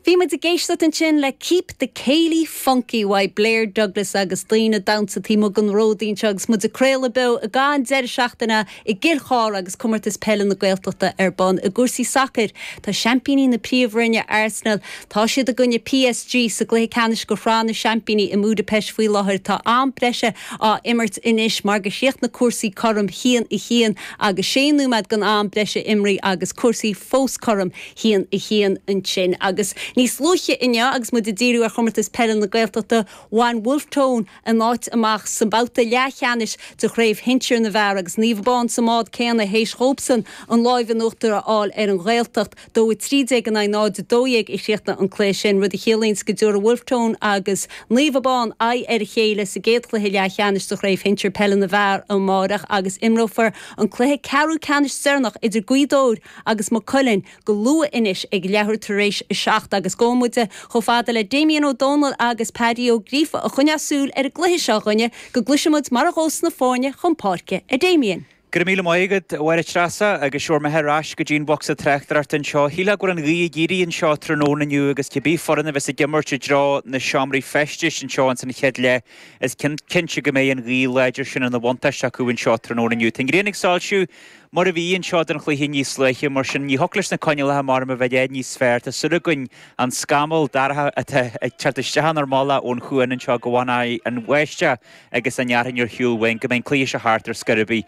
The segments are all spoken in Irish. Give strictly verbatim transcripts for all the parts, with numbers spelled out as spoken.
Bhí muid ag éisteacht ansin le Keep the Céilí Funky uaidh Blair Douglas agus daoine damhsa taobh den ród anseo agus muid ag craoladh beo ag an deireadh seachtaine i gCill Chartha agus comórtas peile na Gaeltachta ar bun i gcúrsaí sacair Tá seaimpíní na príomhroinne Arsenal Tá siad i gcoinne PSG sa gcluiche ceannais de Shraith na Seaimpíní i mBudapest faoi láthair tá am breise á imirt anois mar gur chríochnaigh cúrsaí cothrom haon a haon agus sé nóiméad den am breise imrithe agus cúrsaí fós cothrom haon a haon ansin agus níos luaithe inniu agus muid ag díriú ar chomórtas peile na Gaeltachta bhain Wolfe Tone a n-áit amach sa mbabhta leathcheannais de chraobh shinsir na bhfear agus Naomh Abán sa mbád céanna théis dóibhsan an lámh in uachtar a fháil ar an Ghaeltacht dó a trí déag in aghaidh náid dó dhéag a chríochnaigh an cluiche sin rud a chiallaíonn go dtabharfaidh Wolfe Tone agus Naomh Abán aghaidh ar a chéile sa gcéad chluiche leathcheannais de chraobh shinsir peile na bhfear amárach agus imreofar an cluiche ceathrú ceannais deireanach idir Gaoth Dobhair agus Maigh Cuilinn go luath anois ag leathuair tar éis a seacht agus gabhfaidh muid chomh fada le Damien Ó Dónaill agus Paddy Ó Gríofa a choinneoidh súil ar an gcluiche seo againne go gcloisfimid mar a ghabhfas na foirne chun páirce a Damien. Gur míle maigad bhhair treasa agus seor me heis go dtíon boxa treachtarart an seo. Shílfeá go bhfuil an ghaoth ag éirí anseo tráthnóna inniu agus cibé foireann a bheas ag imirt i dtreo na seomraí feistis anseo an san chéad leath is cinnte go mbeidh an ghaoth láidir sin ina bhuntáiste acu anseo tráthnóna inniu. Tá an ghrian ag soilsiú mar a bhí anseo don chluiche níos luaithe mar sin ní thiocfadh leis na coinníollacha mar a bheith níos fearr Tá súil againn an scamall dorcha atá ag teacht isteach inár mbealach ón chuan anseo go bhfanfaidh an bháisteach agus an fhearthainn ar shiúl uainn go mbeidh cluiche seo thart ar scor ar bith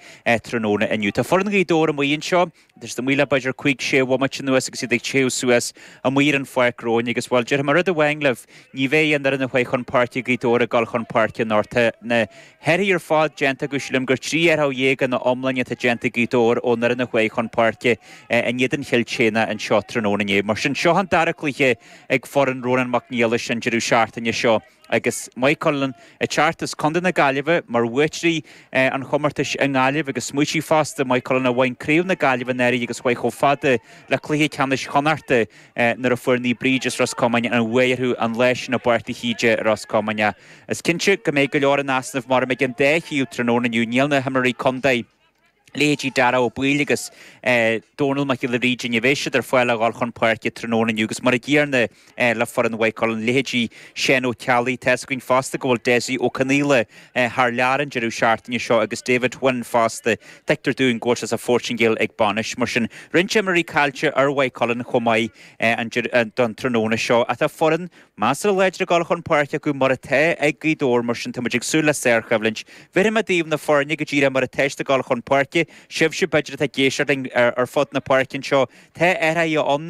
tráthnóna inniu. Tá foireann Ghaoth Dobhair amuigh anseo, Tá siad amuigh le b'fhéidir cúig sé bhomaite anuas agus iad ag téamh suas amuigh ar an pháirc romhainn agus bhuel déarfaidh mé rud amháin libh ní bheidh an fhoireann a chuaigh chun páirce Gaoth Dobhair ag dul chun páirce anocht na hathruithe ar fad déanta acu sílim gur trí athrú dhéag ina iomláine atá déanta Gaoth Dobhair ón fhoireann a chuaigh chun páirce in éadan Chill tSéadhna anseo tráthnóna inné. Mar sin seo an dara cluiche ag foireann Rónán Mac Niallais an deireadh seachtaine seo. agus Maigh Cuilinn ag teacht as Contae na Gaillimhe mar bhuaiteoirí an chomórtais i nGaillimh agus smaointigh fosta Maigh Cuilinn a bhain craobh na Gaillimhe anuraidh agus chuaigh chomh fada le cluiche ceannais Chonnachta nuair a fuair Naomh Bríd as Ros Comáin an bua orthu an lá sin i bPáirc de hÍde Ros Comáin. Is cinnte go mbeidh go leor in easnamh mar ag an dá thaobh tráthnóna inniu níl na himreoirí contae. Leithéidí Dara Ó Baoill agus Dónal Mac Giolla Bhríde ní bheidh siad ar fáil a dhul chun páirce tráthnóna inniu agus mar a gcéanna le foireann Mhaigh Cuilinn leithéidí Seán Ó Ceallaigh tá a fhios againn fosta go bhfuil Dessie Ó Conaola thar lear an deireadh seachtaine seo agus David Wynne fosta tuigtear dúinn go bhfuil sé sa Phortaingéil ag bainis mar sin roinnt imreoirí caillte ar Mhaigh Cuilinn chomh maith don tráthnóna seo atá foireann measartha láidir ag dul chun páirce acu mar atá ag Gaoth Dobhair mar sin táimid ag súil le sárchoimhlint. Bhéarfaidh mé daoibh na foirne go díreach mar atá siad ag dul chun páirce, sibhse b'fhéidir atá ag éisteacht linn ar fud na páirce anseo. Tá athruithe ann